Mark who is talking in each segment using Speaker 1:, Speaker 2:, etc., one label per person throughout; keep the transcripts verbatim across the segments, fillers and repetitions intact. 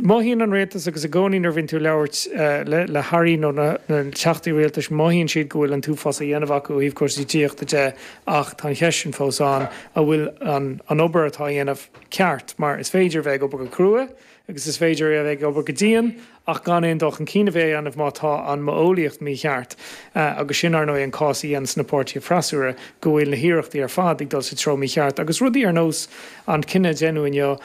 Speaker 1: Mothaíonn an rialtas agus i gcónaí nuair a bhíonn tú ag labhairt le le hairí nó na na teachtaí rialtais mothaíonn siad go bhfuil an t-uafás á dhéanamh acu ó thaobh cúrsaí tithíochta de ach tá an cheist sin fós ann an bhfuil an an obair atá á dhéanamh ceart mar is féidir a bheith ag obair go crua agus is féidir a bheith ag obair go dian ach gan aon dul chun cinn a bheith á dhéanamh má tá an modheolaíocht mícheart. Agus sin, ar ndóigh, an cás a dhéananns na páirtithe freasúra, go bhfuil na hiarrachtaí ar fad ag dul sa treo mícheart agus rudaí ar nós an cinneadh a deineadh inniu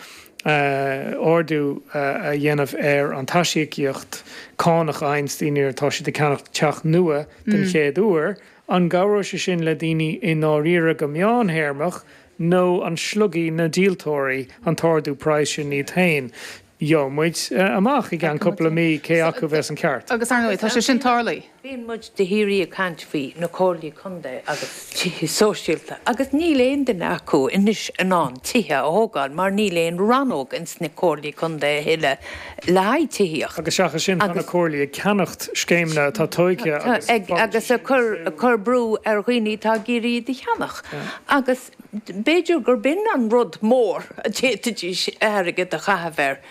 Speaker 1: ardú a dhéanamh ar an t-aisíocaíocht cánach a fhaigheanns daoine nuair atá siad ag ceannacht teach nua den chéad uair, an gcabhróidh sé sin le daoine i ndáiríre go meántéarmach nó an slogfaidh na díoltóirí an t-ardú praghais sin iad féin? Gheobhaidh muid amach i gceann cúpla mí cé acu a bheas an ceart.
Speaker 2: Agus ar ndóigh, tá sé sin tarlaithe.
Speaker 3: Bíonn muid de shíoraí ag caint faoi na comhairlí contae agus tithe sóisialta agus níl aon duine acu anois in ann tithe a thógáil mar níl aon rannóg ins na comhairlí contae a thuilleadh le haghaidh tithíocht.
Speaker 1: Agus seachas sin tá na comhairlí ag ceannacht scéimeanna atá tóigthe agus
Speaker 3: agus ag cur brú ar dhaoine atá ag iarraidh iad a cheannach agus b'fhéidir gurb in an rud mór a d'fhéadfaidís airgead a chaitheamh air.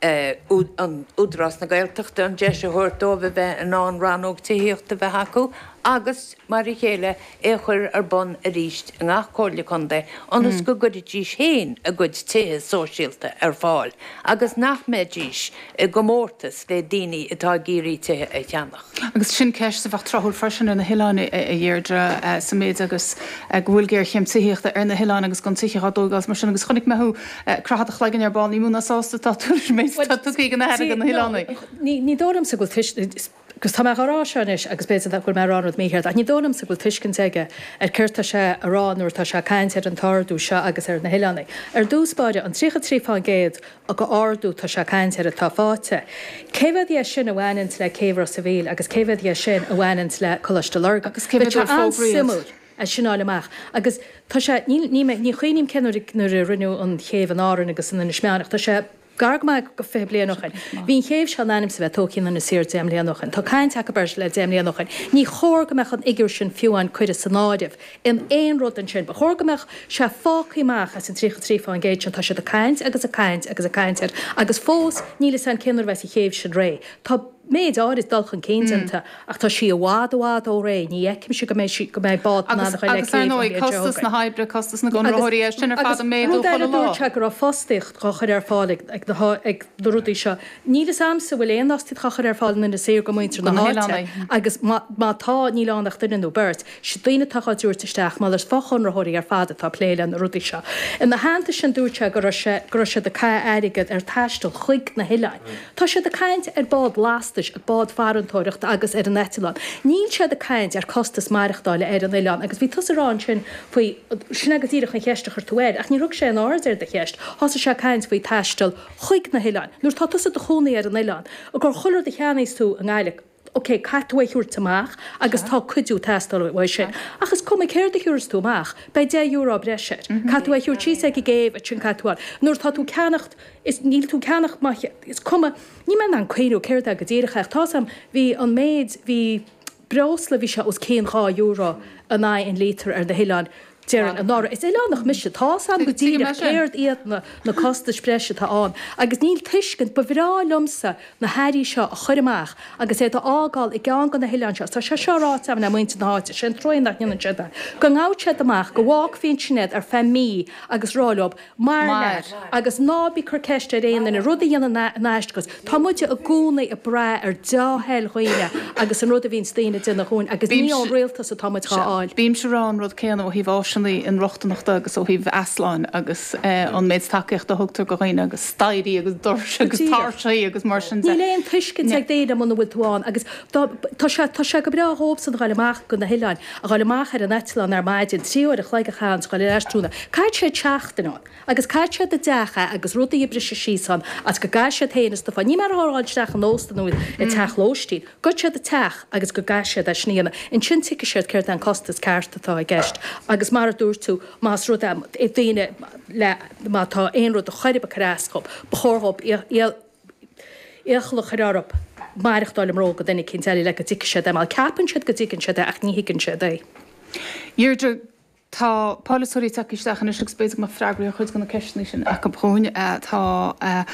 Speaker 3: an Údarás na Gaeltachta an deis a thabhairt dóibh a bheith in ann rannóg tithíochta a bheith acu agus, mar a chéile, é a chur ar bun arís i ngach comhairle contae ionas go gcuirfidís féin a gcuid tithe sóisialta ar fáil agus nach mbeidís i gcomórtas le daoine atá ag iarraidh tithe a cheannach.
Speaker 2: Agus sin ceist a bheadh tráthúil freisin ar na hoileáin, a Dheirdre, sa méid agus go bhfuil géarchéim tithíochta ar na hoileáin agus gan tithe á dtógáil is mar sin agus chonaic mé thú ag croitheadh do chloiginn ar ball, ní mó ná sásta atá tú leis an méid atá tugtha ag an Aire do na hoileánaigh.
Speaker 4: Ní dóigh liomsa go bhfuil agus tá mé á rá seo anois agus b'fhéidir go bhfuil mé ag rá an rud mícheart ach ní dóigh liomsa go bhfuil tuiscint aige ar céard tá sé a rá nuair atá sé ag caint ar an t-ardú seo agus ar na hoileánaigh. Ar dtús báire, an tríocha trí fán gcéad go ardú tá sé ag caint air atá faighte. Cé mhéad dhe sin a bhaineanns le céibh Ros a' Mhíl agus cé mhéad dhe sin a bhaineanns le Coláiste Lurgan?
Speaker 2: Agus cé mhéad
Speaker 4: Bheadh
Speaker 2: uair
Speaker 4: sé
Speaker 2: fógraíodh?
Speaker 4: an-suimiúil é sin a fháil amach. Agus tá sé, níl, ní mé, ní chuimhním cén uair a, nuair a rinneadh an chéibh in Árainn agus in Inis Meáin ach tá sé gar go maith go fiche bliain ó shin. Bhí an chéibh seo in ainm is a bheith tógtha in Inis Oírr deich mbliana ó shin. Tá caint acu air le deich mbliana ó shin. Ní chóir go mbeadh an fhigiúr sin fiú amháin curtha san áireamh in aon rud ansin. Ba chóir go mbeadh sé fágtha amach as an tríocha trí fán gcéad sin. Tá siad ag caint agus ag caint agus ag caint air agus fós níl fhios a'inn cén uair a bheas an chéibh sin réidh. Tá méid áirid dul chun cinn déanta ach tá sí i bhfad i bhfad ó réidh. Ní fheicimse go mbeidh sí, go mbeidh bád in
Speaker 2: Agus,
Speaker 4: ann a ghoil le
Speaker 2: agus ar
Speaker 4: céibh an
Speaker 2: ndóigh,
Speaker 4: mbliain seo
Speaker 2: costas
Speaker 4: chugainn.
Speaker 2: na hoibre, costas na
Speaker 4: Agus,
Speaker 2: gconraitheoirí, é sin ar
Speaker 4: agus
Speaker 2: fad ag méadú
Speaker 4: rud eile
Speaker 2: chuile lá.
Speaker 4: dúirt sé go raibh fostaíocht dhá chur ar fáil ag, ag na há, ag na rudaí seo. Níl fhios a'msa an bhfuil aon fhostaíocht dhá chur ar fáil in Inis Oírr go muintir
Speaker 2: Do
Speaker 4: na
Speaker 2: na
Speaker 4: háite
Speaker 2: hoileánaigh.
Speaker 4: agus má, má tá, níl ann ach duine nó beirt. Siad daoine atá dhá dtabhairt isteach, malairt fochonraitheoirí ar fad atá ag plé le na rudaí seo. Ina theannta sin dúirt sé go raibh sé, go raibh siad ag caitheamh airgead ar taisteal chuig na hoileáin. Tá siad ag caint ar bád lastais, ar bád farantóireachta agus ar an eitleán. Níl siad ag caint ar costas maireachtála ar an oileán agus bhí tusa ag rá ansin faoi, sin é go díreach an cheist a chuir tú air ach níor thug sé aon aird ar do cheist. Thosaigh sé ag caint faoi taisteal chuig na hoileáin. Nuair atá tusa i do chónaí ar an oileán, gur chuile rud a cheannaíos tú i nGaillimh, ok, caithfidh tú é a thabhairt amach agus tá cuidiú ag teastáil uaidh sin. Ach is cuma céard a thabharfas tú amach, beidh deich euro breise air. Caithfidh tú é a thabhairt síos ag an gcéibh, ansin caithfidh tú a fháil. Nuair atá tú ag ceannacht, is níl tú ag ceannacht má is cuma, níl mé in ann cuimhniú céard é go díreach ach tá's a'm, bhí an méid, bhí breosla, bhí sé os cionn dhá euro in aghaidh an lítear ar na hoileáin. Déarfainn anuraidh. Is oileánach mise, tá's a'm go
Speaker 2: Tuigim é
Speaker 4: díreach
Speaker 2: sin.
Speaker 4: céard iad na na costais breise atá ann agus níl tuiscint, ba bhreá liomsa na hairí seo a chur amach agus iad a fhágáil i gceann de na hoileáin seo, tá sé seo ráite agam le muintir na háite, sé an truaighe nach ndéanann siad é, go ngabhfadh siad amach, go bhfágfaí ansin iad ar feadh mí agus rá leo, Mair
Speaker 2: Mair.
Speaker 4: leat agus ná bí ag cur ceist ar aon duine, rud a dhéanann in aisce agus tá muide i gcónaí ag brath ar deá-thoil dhaoine agus an rud a bhíonns daoine ag déanamh dhúinn agus ní ón
Speaker 2: Bímse,
Speaker 4: rialtas atá muid dhá
Speaker 2: sea,
Speaker 4: fháil.
Speaker 2: bímse ag rá an rud céanna ó thaobh áiseanna inrochtaineachta agus ó thaobh easláin agus an méid tacaíochta a thugtar do dhaoine agus staighrí agus doirse
Speaker 4: Go
Speaker 2: agus
Speaker 4: díreach.
Speaker 2: tairseacha agus mar sin de.
Speaker 4: Níl aon tuiscint ag daoine muna bhfuil tú ann agus dá, tá sé, tá sé go breá dhóibhsan a ghoil amach go na hoileáin, a ghoil amach ar an eitleán ar maidin, trí uair a chloig a chaitheamh ann 's a ghoil ar ais tráthnóna. Caithfidh siad seachtain ann agus caithfidh siad i dteach é agus rudaí ag briseadh síos ann agus go gcaithfidh siad féin is do Ní mar a ghabháil isteach in óstan nó i teach lóistín. Gabhfaidh siad i teach agus go gcaithfidh siad é sin a dhéanamh. Ansin tuigfidh siad céard é an costas ceart atá i gceist agus mar a dúirt tú más rud é daoine le má tá aon rud a chor ar bith ag cur as dhób ba chóir dhób iachall a chur orthu maireachtáil i mbróga duine eicínt eile le go dtuigfidh siad é mar ceapann siad go dtuigeann siad é ach ní thuigeann siad é.
Speaker 2: Deirdre, Tá polaiteoirí tagtha isteach anois agus b'fhéidir go mbeadh freagraí ar chuid de na ceisteanna sin acu dhúinn. Tá.